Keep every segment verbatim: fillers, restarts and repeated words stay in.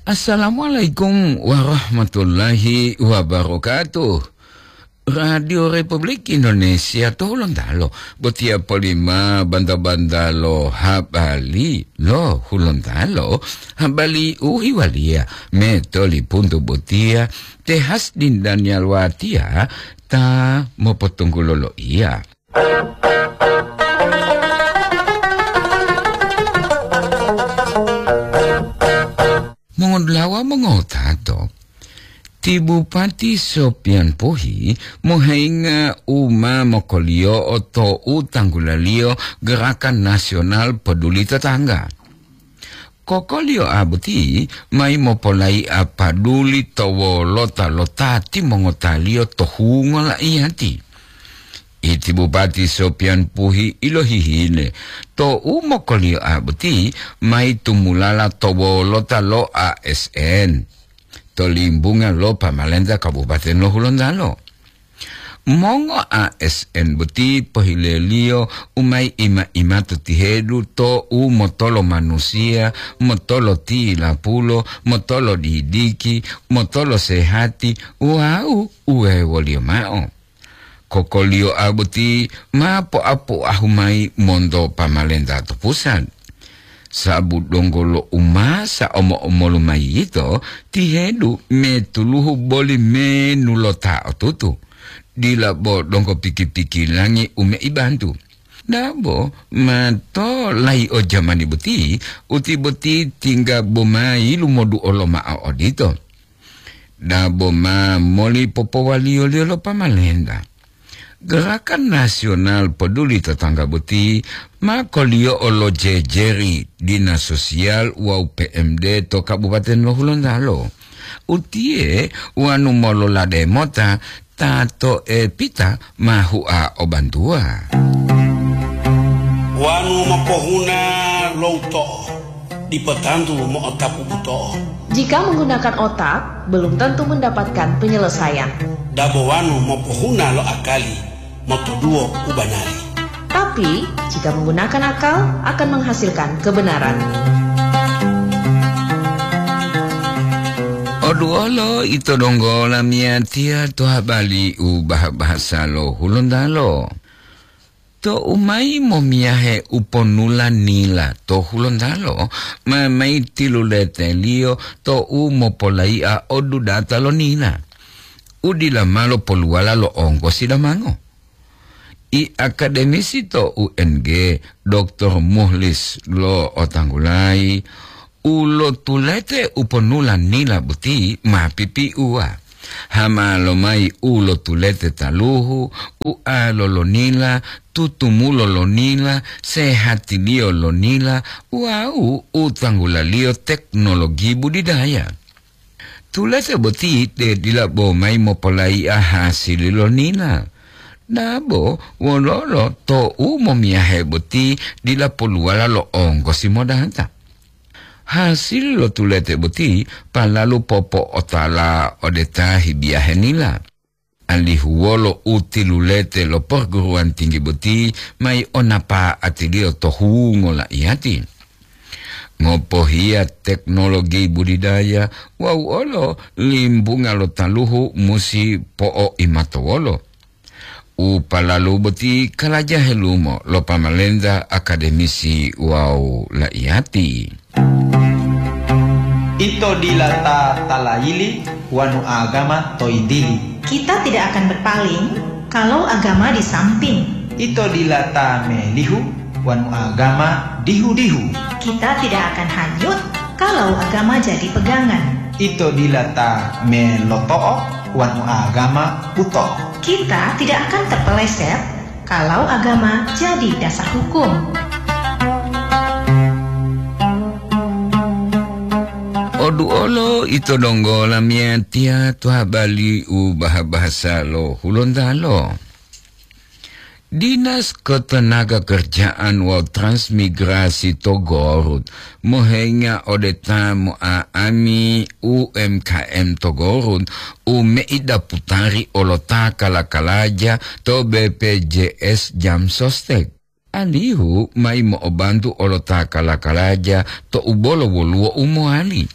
Assalamualaikum warahmatullahi wabarakatuh. Radio Republik Indonesia to Hulontalo, botiya polima banta-banta lo habari lo Hulontalo, habari u hiwaliya metoli puntu botiya, Tehas Dindan Yalwatiya ta mopotunggulo loiya. Mongodulawa mongotato, ti Bupati Sopian Puhi mohenga u ma mokoliyo'o to u tanggulaliyo Gerakan Nasional Peduli Tetangga. Kokoliyo'a boti mayi mopolai'a paduli to wolota lo ta timongotaliyo to hungo la'iyati. Iti Bupati Sopian Puhi ilohihile to u mokoliyo'a boti mayi tumulala to wolota lo A S N to limbunga lo pamalenta Kabupaten lo Hulontalo. Mongo A S N boti pohileliyo u mayi ima-ima to tihedu to u motolo manusiya, motolo tilapulo, motolo didiki, motolo sehati, wawu uwewoliyo mao. Kokoliyo'a boti ma poapoahu mayi monto pamalenta to pusat. Sabu donggo lo umasa omo-omolu mayi yito, tihedu metuluhu boli menu lo ta otutu. Dila bo donggo piki-pikilangi u meibantu. Dabo ma to layi o jamani boti, uti boti tingga bo mayi lumoduolo ma'o odito. Dabo ma moli popowaliyo-liyo lo pamalenta. Gerakan Nasional Peduli Tetangga boti ma koliyo'o lo jejeri Dinas Sosial wawu P M D to Kabupaten lo Hulontalo. Utiye wanu mololade mota ta to'epita ma hua o bantuwa. Wanu mopohuna lo uto'o, dipo tantu mo'otapu buto'o. Jika menggunakan otak, belum tentu mendapatkan penyelesaian. Dabo wanu mopohuna lo akali, motoduwo u banari. Tapi, jika menggunakan akal, akan menghasilkan kebenaran. Oduolo ito donggo lamiyatiya to habari u baha-bahasa lo Hulontalo. Tou mayi momiyahe u ponula nila to Hulontalo, ma mayi tiluleteliyo tou mopolai'a o dudata lo nila, u dila ma lopoluwala lo onggosi damango. I akademisi to U N G, Doktor Muhlis lo'otanggulayi, u lotulete u ponula nila boti ma pipiuwa. Hama lomayi u lotulete taluhu, ualo lo nila, tutumulo lo nila, sehatiliyo lo nila, wawu u tanggulaliyo teknologi budidaya. Tulete boti te dila bo mayi mopolai'a hasili lo nila. Dabo wololo tou momiyahe boti dila poluwala lo onggosi modata. Hasili lo tulete boti palalu popo'otala ode ta hibiyahe nila, alihu wolo u tilulete lo perguruan tinggi boti mayi o napa'atiliyo to hungo la'iyati. Ngopohiya teknologi budidaya wawu olo limbunga lo taluhu musi po'oimatowolo. U palalu boti kalaja helumo lo pamalenta, akademisi wawu la'iyati. Ito dila ta talayili wanu agama to yintili. Kita tidak akan berpaling kalau agama di samping. Ito dila ta melihu wanu agama dihu-dihu. Kita tidak akan hanyut kalau agama jadi pegangan. Ito dila ta meloto'o wanu agama buto'o. Kita tidak akan terpeleset kalau agama jadi dasar hukum. Oduolo ito donggo lamiyatiya to habari u baha-bahasa lo Hulontalo. Dinas Ketenagakerjaan wawu Transmigrasi to Gorut mohenga ode ta mo'a'ami U M K M to Gorut u meida putari olota kala-kalaja to B P J S Jamsostek, alihu mayi mo'obantu olota kala-kalaja to u bolo woluwo u mowali.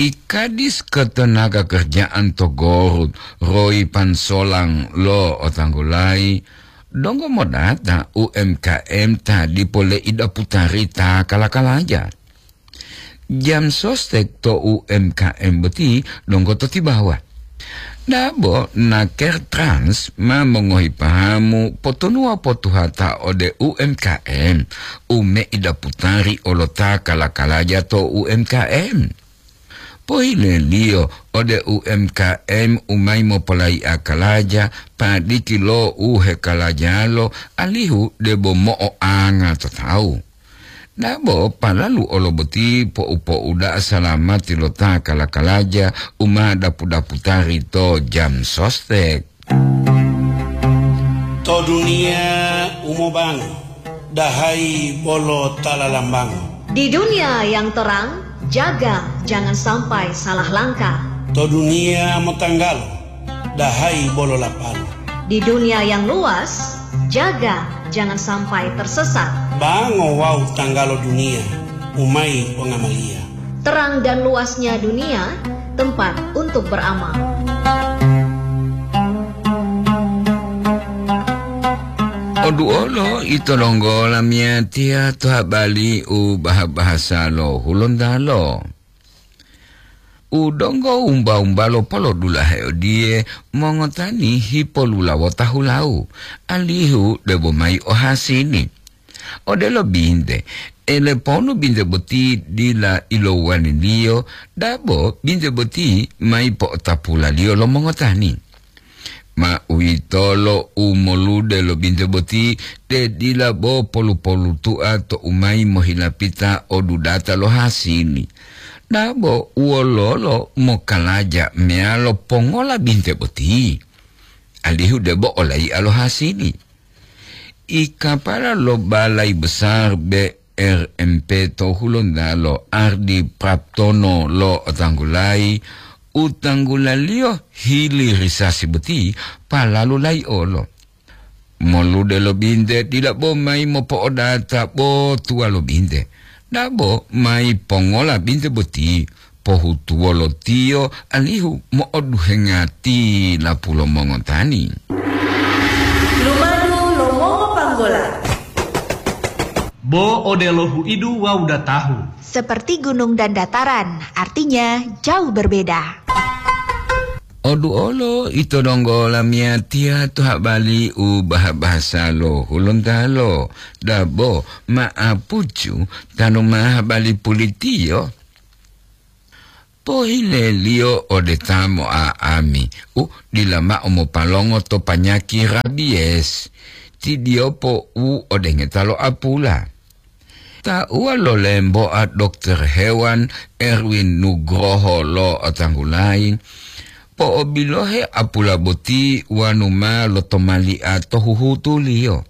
I Kadis Ketenaga Kerjaan to Gorut, Roy Pansolang lo otanggulayi, donggo modata U M K M ta dipo leida putari ta kala-kalaja. Jam sostek to U M K M boti donggo to tibawa. Dabo naker Trans ma mongohi pahamu potonuwa potuhata ode U M K M, u meida putari olota kala-kalaja to U M K M. Pohileliyo ode U M K M u mayi mopolayi'a kalaja, padiki lo u hekalajalo, alihu debo mo'oanga to tawu. Dabo palalu olo boti po'u-po'u da'a salamati lo ta kala-kalaja u ma dapu-daputari to jam sostek. To duniya u mobango, dahayi bolo ta lalambango. Di dunia yang terang, jaga jangan sampai salah langkah. To duniya motanggalo, dahayi bolo lapalo. Di dunia yang luas, jaga jangan sampai tersesat. Bango wawu tanggalo duniya, u mayi pongamaliya. Terang dan luasnya dunia, tempat untuk beramal. Oduolo ito donggo lamiyatiya to habali u baha-bahasa lo Hulontalo. U donggo umba-umbalo polodulahe odiye, mongotani hipolulawota hulau, alihu debo mayi ohasini. Odelo binte, eleponu binte boti dila ilowaliliyo, dabo binte boti mayi po'otapulaliyo lo mongotani. Ma uwitolo u molude lo binte boti, te dila bo polu-polutua to u mayi mohilapita o dudata lo hasili. Dabo wololo mokalaja meyalo pongola binte boti, alihu debo olai'a lo hasili. I kapala lo Balai Besar B R M P to Hulontalo, Ardi Praptono lo otanggulayi, u tanggulaliyo hili risasi boti palalu laiolo. Molude lo binte dila bo mayi mopo'odata bo tuwa lo binte, dabo mayi pongola binte boti, pohutuwolo tiyo alihu mo'oduhenga tilapu lo mongotani. Lumadu lo mongopanggola. Bo odelo huidu wawu datahu. Seperti gunung dan dataran, artinya jauh berbeda. Oduolo ito donggo lamiyatiya to habali u baha-bahasa lo Hulontalo, dabo ma'apucu tanu ma habali pulitiyo. Pohileliyo ode ta mo'a'ami u dila ma'o mopalongo to panyaki rabies, ti diyopo u odengeta lo apula. Tauwa lo lemboa Dokter Hewan Erwin Nugroho lo otanggulayi, po'obilohe apula boti wanu ma lotomali'a to huhutuliyo.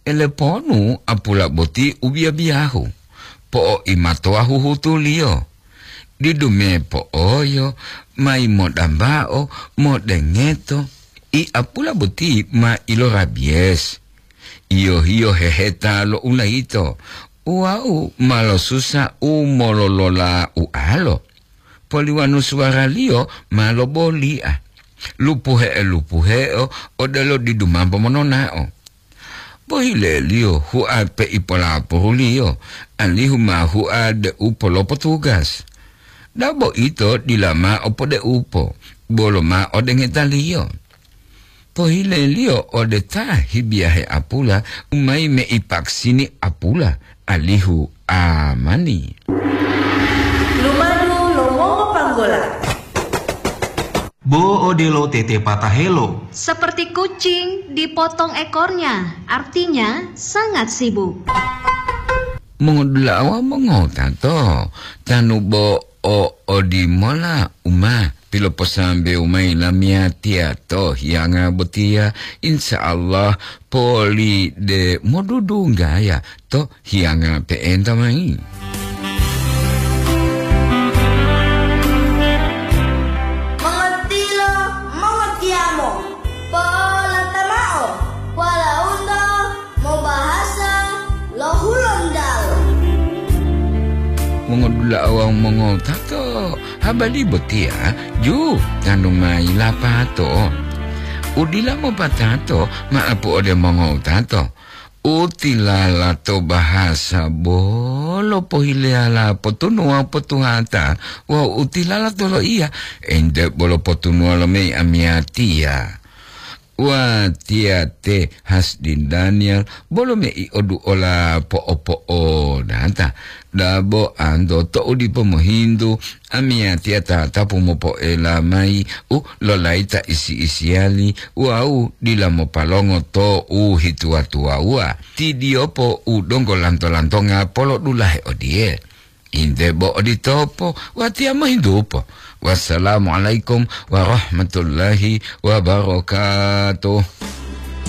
Eleponu apula boti u biya-biyahu, po'oimatowa huhutuliyo. Didu me po'oyo, mayi modambao, modengeto, i apula boti ma ilorabies. Iyo-hiyo heheta lo ulayito, wawu ma losusa u mololola ualo. Poliwanu suwaraliyo ma loboli'a. Lupuhe'e-lupuhe'o odelo didu mambo monona'o. Bohileliyo hua pei polapohuliyo, alihu ma hua de'u polopotugas. Dabo ito dila mao podeupo, bolo mao dengetaliyo. Pohileliyo ode ta hibiyahe apula, u mayi meipaksini apula, alihu amani. Lumadu lo mongopanggola. Bo odelo tete patahelo. Seperti kucing dipotong ekornya, artinya sangat sibuk. Mongodula'a wawu mongotato, tanu bo o odimola u ma piloposambewu mayi lamiyatiya to hiyanga botiya, insya Allah poli de modudunggaya to hiyanga pe'enta mayi. Mongatilo, mongotiyamo, polotamao, walaundo mobahasa lo Hulontalo. Mongodula'a La'o wawu mongowutato, habari botiya ju tanu mayi lapato. Udila mopatato ma'apu ode mongowutato. Utilala to bahasa bolo pohileyala potunu wawu potuhata, wawu utilala to loiya, ente bolo potunuwa lo mei amiyatiya. Watiya te Hasdin Daniel, bolo mei oduola po'o-po'o data. Dabo anto to'u dipo mohintu, amiyatiya tatapu mopoela mayi u lolayi ta isi-isiyali wawu dila mopalongo to u hituwa-tuwawuwa. Tidiyopo u donggo lanto-lantonga polodulahe odiye. Inde bo oditopo, watiya mohintupo. Wassalamualaikum warahmatullahi wabarakatuh.